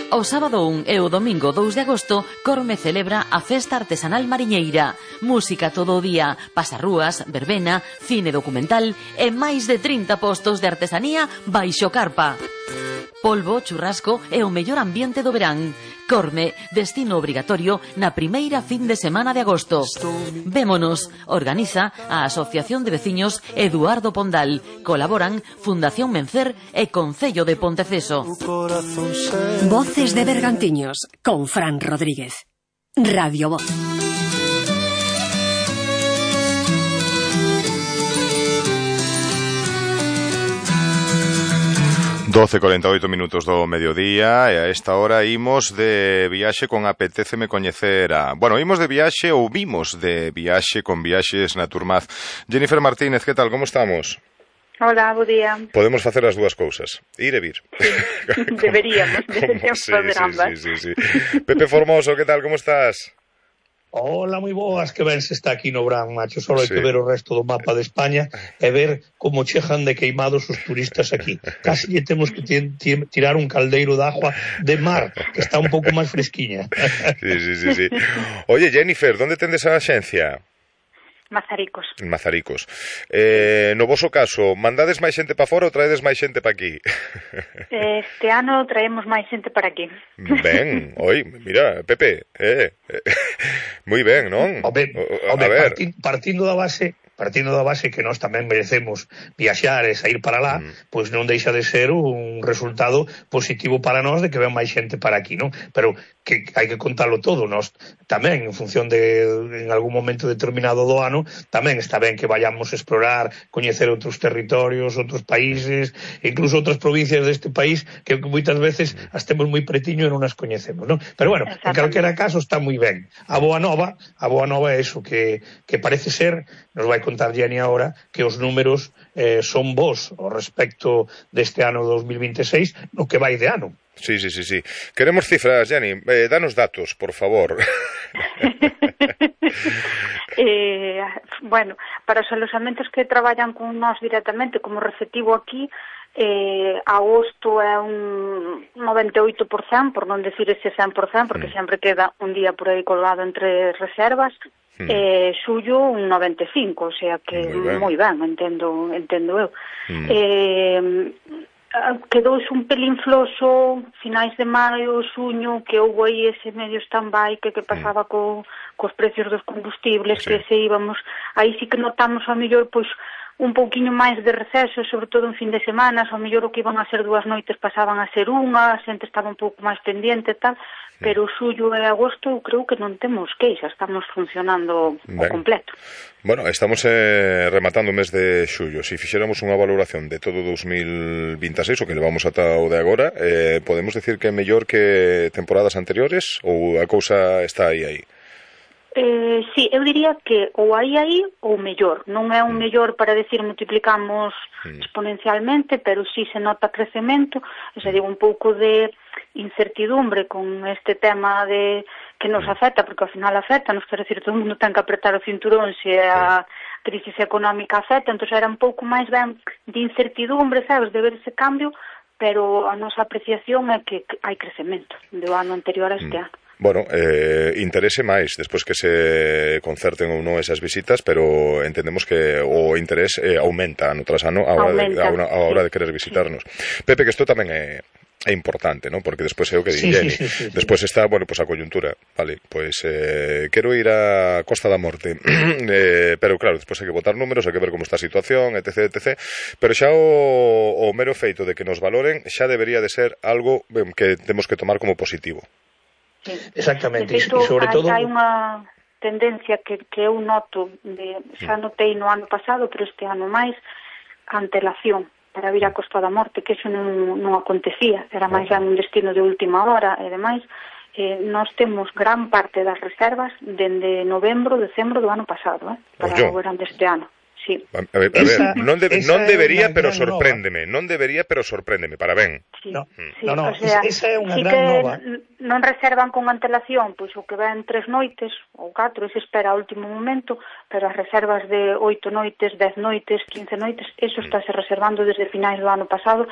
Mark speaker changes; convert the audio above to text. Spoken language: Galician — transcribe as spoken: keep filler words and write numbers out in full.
Speaker 1: O sábado un e o domingo dous de agosto, Corme celebra a Festa Artesanal Mariñeira. Música todo o día, pasarrúas, verbena, cine documental e máis de trinta postos de artesanía baixo carpa. Polvo, churrasco e o mellor ambiente do verán. Corme, destino obrigatorio na primeira fin de semana de agosto. Vémonos, organiza a Asociación de Veciños Eduardo Pondal. Colaboran Fundación Mencer e Concello de Ponteceso.
Speaker 2: Voces de Bergantiños, con Fran Rodríguez. Radio Voz.
Speaker 3: doce e cuarenta e oito minutos do mediodía e a esta hora imos de viaxe con Apetéceme coñecer a... Bueno, imos de viaxe ou vimos de viaxe con Viaxes Naturmaz. Jennifer Martínez, que tal, como estamos?
Speaker 4: Hola, bo día.
Speaker 3: Podemos facer as dúas cousas, ir e vir.
Speaker 4: Sí, deberíamos, deberíamos
Speaker 3: sí,
Speaker 4: facer
Speaker 3: sí,
Speaker 4: ambas.
Speaker 3: Sí, sí, sí. Pepe Formoso, que tal, como estás?
Speaker 5: Hola, moi boas, que ben se está aquí no Brán, macho. Só hai
Speaker 3: sí.
Speaker 5: que ver o resto do mapa de España e ver como chejan de queimados os turistas aquí. Casi lle temos que tirar un caldeiro de agua de mar, que está un pouco máis fresquiña.
Speaker 3: Sí, sí, sí, sí. Oye, Jennifer, ¿dónde tendes a axencia?
Speaker 4: Mazaricos.
Speaker 3: En Mazaricos. Eh, no voso caso, mandades máis xente para fora ou traedes máis xente para aquí?
Speaker 4: Este ano traemos máis xente para aquí.
Speaker 3: Ben, oi, mira, Pepe, eh, eh, moi ben, non?
Speaker 5: Home,
Speaker 3: a
Speaker 5: home
Speaker 3: ver.
Speaker 5: Parti, partindo da base... partindo da base que nós tamén merecemos viaxar e sair para lá, mm. pois non deixa de ser un resultado positivo para nós de que ven máis xente para aquí, non? Pero que hai que contalo todo, nós tamén, en función de en algún momento determinado do ano, tamén está ben que vayamos a explorar, coñecer outros territorios, outros países, incluso outras provincias deste país que moitas veces as temos moi pretiño e non as coñecemos, non? Pero bueno, en calquera caso está moi ben. A boa nova, a boa nova é iso, que, que parece ser, nos vai contar Jenny ahora, que os números eh, son bons ao respecto deste ano dos mil veintiséis, no que vai de ano.
Speaker 3: Sí, sí, sí, sí. Queremos cifras, Jenny. Eh, danos datos, por favor.
Speaker 4: eh, bueno, para os alojamentos que traballan con nós directamente como receptivo aquí, eh, agosto é un noventa e oito por cento, por non decir ese cen por cento, porque mm. sempre queda un día por aí colgado entre reservas. Mm. Eh, xullo un noventa e cinco, o sea que moi ben, ben entendo, entendo eu. Mm. Eh, quedou un pelín floso finais de maio, xuño, que houve aí ese medio stand-by que, que pasaba mm. co, cos precios dos combustibles, sí. que se íbamos, aí sí que notamos a mellor, pois, un pouquiño máis de receso, sobre todo en fin de semana, ao mellor o que iban a ser dúas noites pasaban a ser unha, a xente estaba un pouco máis pendiente e tal, sí. pero xullo e agosto eu creo que non temos queixa, estamos funcionando ben. O completo.
Speaker 3: Bueno, estamos eh, rematando o mes de xullo. Se fixéramos unha valoración de todo dos mil veintiséis, o que levamos ata o de agora, eh, podemos decir que é mellor que temporadas anteriores ou a cousa está aí aí?
Speaker 4: Eh, sí, eu diría que ou aí aí ou mellor. Non é un mellor para decir multiplicamos mm. exponencialmente, pero sí se nota crecemento, o sea, digo, un pouco de incertidumbre con este tema de que nos afecta, porque ao final afecta, nos quero decir, todo o mundo ten que apretar o cinturón se a crisis económica afecta, entón era un pouco máis ben de incertidumbre, sabes, de ver ese cambio, pero a nosa apreciación é que hai crecemento do ano anterior a este mm. ano.
Speaker 3: Bueno, eh, interese máis despois que se concerten ou non esas visitas, pero entendemos que o interés eh, aumenta ano tras ano a hora, de, a, a hora de querer visitarnos. Sí. Pepe, que isto tamén é, é importante, ¿no? Porque despois é o que di
Speaker 5: sí,
Speaker 3: Jenny.
Speaker 5: Sí, sí, sí,
Speaker 3: despois
Speaker 5: sí.
Speaker 3: está, bueno, pues a coyuntura, vale, pois eh, quero ir a Costa da Morte, eh, pero claro, despois hai que botar números, hai que ver como está a situación, etc, etc, pero xa o, o mero feito de que nos valoren xa debería de ser algo que temos que tomar como positivo.
Speaker 4: Sí.
Speaker 5: Exactamente,
Speaker 4: de feito,
Speaker 5: e sobre
Speaker 4: hai,
Speaker 5: todo...
Speaker 4: hai unha tendencia que, que eu noto, de, xa notei no ano pasado, pero este ano máis, antelación para vir a Costa da Morte, que eso non, non acontecía, era máis un destino de última hora, e demais, eh, nós temos gran parte das reservas dende novembro, decembro do ano pasado, eh, para o verán deste ano. Sí.
Speaker 3: A ver, a ver esa, non, de, non debería, pero sorpréndeme, nova. non debería, pero sorpréndeme, para ben.
Speaker 4: Sí,
Speaker 5: no,
Speaker 4: sí,
Speaker 5: no, no,
Speaker 4: o sea,
Speaker 5: esa é unha
Speaker 4: sí
Speaker 5: gran
Speaker 4: que
Speaker 5: nova.
Speaker 4: Non reservan con antelación, pois o que ven tres noites ou catro, e se espera ao último momento, pero as reservas de oito noites, dez noites, quince noites, eso estáse reservando desde finais do ano pasado,